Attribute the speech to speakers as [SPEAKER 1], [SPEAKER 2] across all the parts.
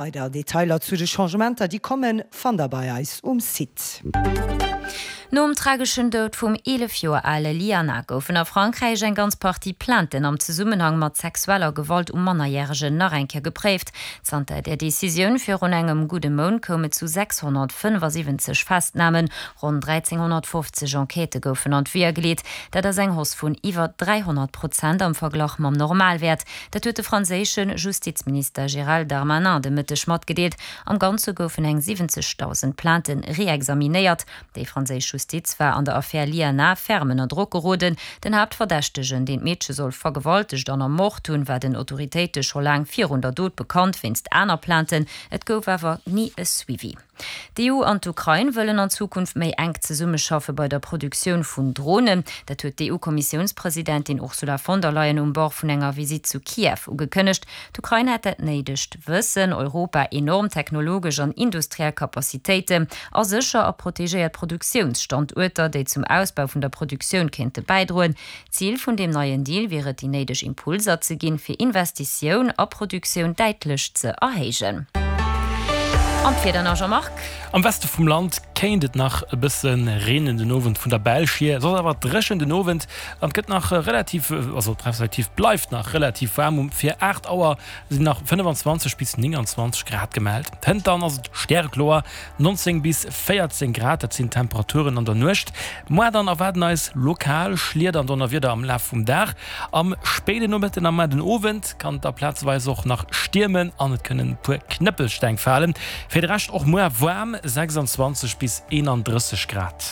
[SPEAKER 1] Weider Detailer zu de Changementer, déi kommen, fannt der bei eis um Site.
[SPEAKER 2] Nom trageschen Doud vum 11 Joer ale Liana goufen a Frankräich eng ganz Partie Plainten am Zesummenhang mat sexueller Gewalt u Mannerjäregen nach eng Kéier gepréift. Zanter där Decisioun virun engem gudde Mount koum et zu 675 Festnamen, ronn 1.350 Enquêtë goufen an d'Weeër geleet. Dat ass eng Hausse vun iwwer 300 Prozent am Verglach mam Normalwäert. Dat huet de franséische Justizminister Gérald Darmanin de Mëtteg matgedeelt. Am Ganze goufen eng 70.000 Plaintë reexaminéiert. Déi franséisch Justiz war an der Affär Liana ferm ënner Drock geroden. Den Haaptverdächtegen, deen d'Meedche soll vergewaltegt an ermort hunn, war den Autoritéite scho laang virun der Dot bekannt, wéinst aner Plainten. Et gouf awer ni e Suivi. D'EU an d'Ukrain wëllen an Zukunft méi enk zesummeschaffe bei der Produktioun vun Dronen. Dat huet d'EU-Kommissiounspresidentin Ursula von der Leyen um Bord vun enger Visitt zu Kiew ugekënnegt. D'Ukrain hätt dat néidegt Wëssen, Europa enorm technologesch an industriell Capacitéiten a sécher a protegéiert Produktiounsstanduerter, déi zum Ausbau vun der Produktioun kéinte bäidroen. Zil vun deem neien Deal wier et, déi néideg Impulser ze ginn, fir Investitioun a Produktioun däitlech ze erhéijen. An d'Wieder nach, Jean-Marc?
[SPEAKER 3] Am Weste vum Land kéint et nach e bësse reenen den Owend vun der Belsch hier, soss awer dréchen den Owend an et gëtt nach relativ, also respektiv bleift nach relativ waarm. Um fir 8 Auer sinn nach 25 bis 29 Grad gemellt. Hënt dann ass et stärekloer, 19 bis 14 Grad, dat sinn d'Temperaturen an der Nuecht. Moar dann erwaarden eis lokal Schlieder an Donnerwieder am Laf vum Dag. Am spéiden Nomëtten a mar den Owend kann et da plazeweis och nach stiermen an et kënnen e puer Knëppelsteng falen. Fir de Rescht och muar waarm, 26 bis 31 Grad.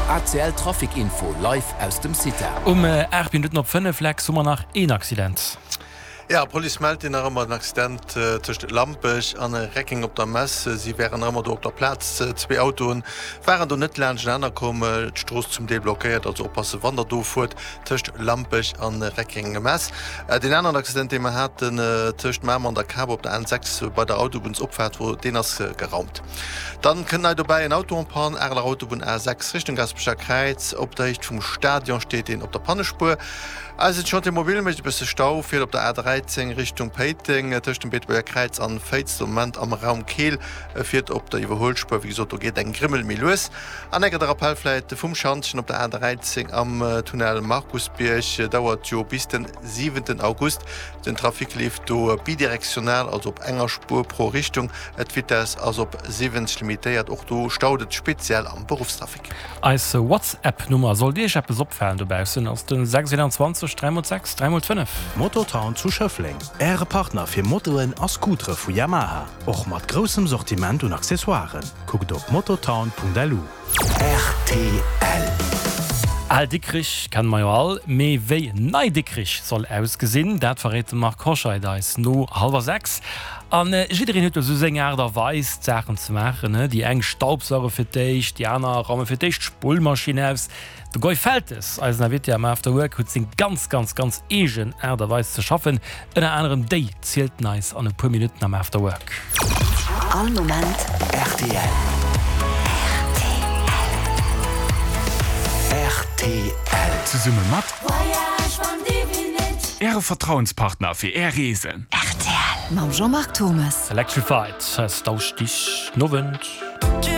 [SPEAKER 4] ACL Trafic Info live aus dem CITA.
[SPEAKER 3] Um 8 Minutten op 5 Lex hu mer nach een Accident.
[SPEAKER 5] Jo, d'Police mellt deen nach ëmmer, den Accident tëscht Lampech an Reckeng op der Mess. Si wären nach ëmmer do op der Plaz. Zwee Autoen waren do net laanscht komm. D'Strooss zum Deel blockéiert, also oppasse wann der do fuert tëscht Lampech an Reckeng Mess. Deen aneren Accident dee mer haten tëscht Mamer an der Kap op der N6 bei der Autobunnsopfaart, wou deen ass geraumt. Dann kënnt nei dobäi en Auto en panne, Areler Autobunn A6 Richtung Gaspecher Kräiz. Op der Héicht vum Stadion steet deen op der Pannespuer. Eisen Chantier mobile mécht e bësse Stau, fiert op der A13 Richtung Péiteng, tëscht dem Beetebuerger Kräiz an Féiz, de Moment am Raum Keel, e fiert op der Iwwerhuelspuer, wéi gesot do geet eng Grimmel méi lues. An enker de Rappell vläit vum Schantjen op der A13 am Tunnel Markusbierg, dauert jo bis den siwenten August. Den Trafic leeft do bidirektional, also op enger Spuer pro Richtung, d'Vitess ass op 70 limitéiert, och do staut et speziell am Beruffstrafic.
[SPEAKER 3] Eis WhatsApp Nummer, sollt iech eppes opfalen dobaussen, ass den 621 3 x 6 3 x 5.
[SPEAKER 4] Mototown zu Schëffleng, Äre Partner fir Motoen a Scootere vu Yamaha, och mat groussem Sortiment un Accessoiren. Kuckt op mototown.lu.
[SPEAKER 3] Rtl. Al Dikrich kenne mer jo all, mee wéi Nei Dikrich soll ausgesinn, dat verréit de Marc Hoscheid eis no hallwer 6. An jiddereen huet jo sou seng Aart a Weis d'Saachen ze maachen, he? Déi eng staubsauge fir d'éischt, déi aner raume fir d'éischt d'Spullmaschinn aus. De Goy Feltes, eisen Invité am After Work, huet seng ganz, ganz, ganz eegen Aart a Weis ze schaffen. Ënner anerem déi zielt en eis an e puer Minutten am After Work.
[SPEAKER 4] All Moment rtl. Rtl.
[SPEAKER 6] Zesumme mat Äre Vertrauenspartner fir Är Reesen.
[SPEAKER 4] Rtl mam Jean-Marc Thomes.
[SPEAKER 3] Electrified, Dauschtich Nowend.